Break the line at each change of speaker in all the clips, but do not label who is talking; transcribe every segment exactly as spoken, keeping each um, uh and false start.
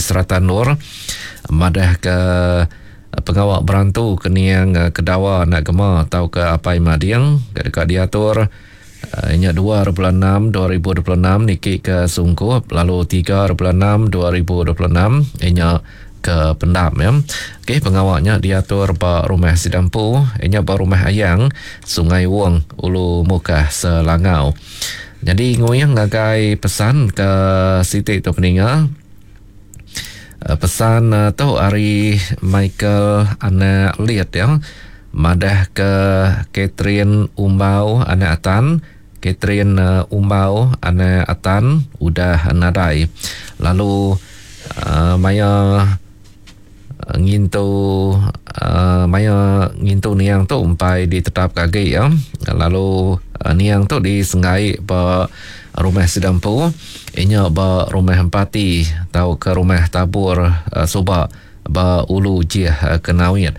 serata endur madah ke pengawa berantu ke niang Kedawa anak Gema tauka Apai Mading ke deka diatur nya dua bulan enam dua ribu dua puluh enam niki ke Sungkup lalu tiga bulan enam dua ribu dua puluh enam nya ke Pendam ya. Okey, pengawa nya diatur ba rumah Sidampu nya ba rumah Ayang Sungai Wong Ulu Mukah Selangau. Jadi nguyang ngagai pesan ke siti tu peninga. Pesan tu ari Michael anak Liet ya. Madah ke Catherine Umbau anak Atan, Catherine Umbau anak Atan udah nadai. Lalu uh, maya ngintu uh, maya ngintu niang tu empai ditetap agi ya. Lalu uh, niang tu disenggai ba rumah Sidampu inya ba rumah Empati tau ke rumah Tabur uh, Suba ba Ulu Jih uh, Kenawit.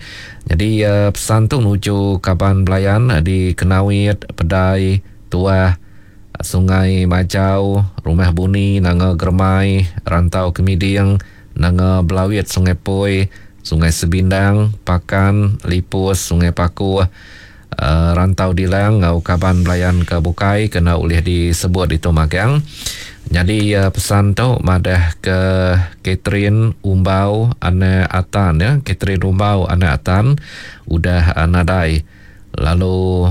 Jadi uh, pesan tu nuju kaban belayan di Kenawit, Pedai, Tuah, Sungai Majau, Rumah Buni, Nanga Germai, Rantau Kemiding, Nanga Belawit, Sungai Poi, Sungai Sebindang, Pakan, Lipus, Sungai Paku, uh, Rantau Dilang ngau kaban belayan ke bukai kena ulih disebut itu magang. Jadi uh, pesan tu madah ke Catherine Umbau anak Atan ya, Catherine Umbau anak Atan udah uh, nadai. Lalu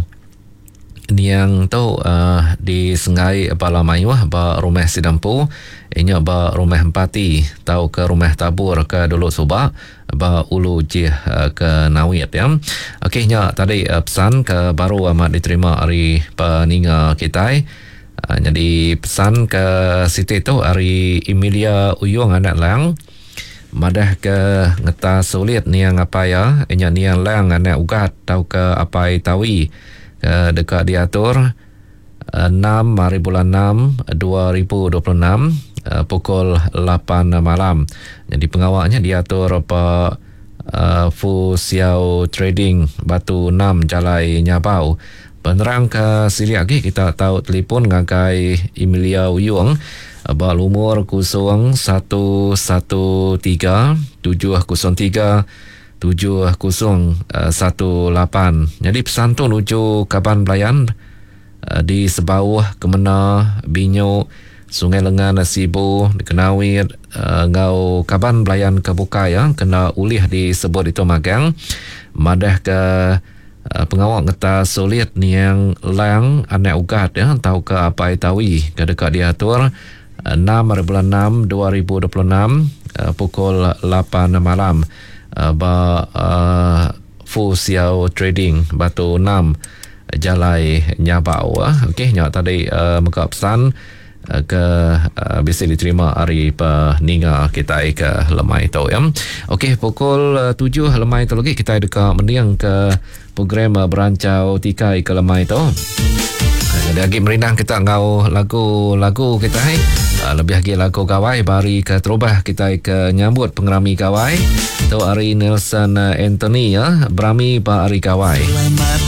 niang tu uh, disenggai bala mayuh ba rumah Sidampu inya ba rumah Empati tau ke rumah Tabur ke dulu suba ba Ulu Jih uh, ke Nawit ya. Okey, nya tadi uh, pesan ke baru amat diterima ari peninga kitai. Uh, jadi pesan ke siti tu ari Emilia Uyung anak Lang madah ke ngetas sulit niang apai ya inya niang Lang anak Ugat tau ke apai Tawi ke deka diatur enam hari bulan enam dua ribu dua puluh enam pukul lapan malam. Jadi pengawaknya diatur pa uh, Fu Xiao Trading Batu enam Jalai Nyabau. Penerang ke silik lagi kita tahu telefon ngagai Emilia Uyung ba lumur kosong satu satu tiga tujuh kosong tiga tujuh kosong satu lapan. Jadi pesan tu nuju kaban belayan di Sebauh, Kemena, Binyo, Sungai Lengan, Sibu, Kenawit ngau kaban belayan ke bukai ya kena ulih disebut itu magang madah ke pengawak ngetas sulit niang Lang anak Ugat ya tau ke Apai Tawi ke deka diatur enam hari bulan enam dua ribu dua puluh enam pukul lapan malam ba uh, Fu Xiao Trading Batu enam Jalai Nyabau. Okey, nya tadi uh, mega pesan uh, ke uh, bisa diterima hari peninga kita ke lemai tu ya. Okey, pukul uh, tujuh lemai tu lagi kita deka mendiang ke program uh, Berancau Tikai ke lemai tu. Jadi lagi merindang kita ngau lagu-lagu kita hai. Uh, lebih lagi lagu gawai bari ke terubah kita ke nyambut pengerami gawai. Tu hari Nelson Anthony ya, berami ba hari gawai.
Selamat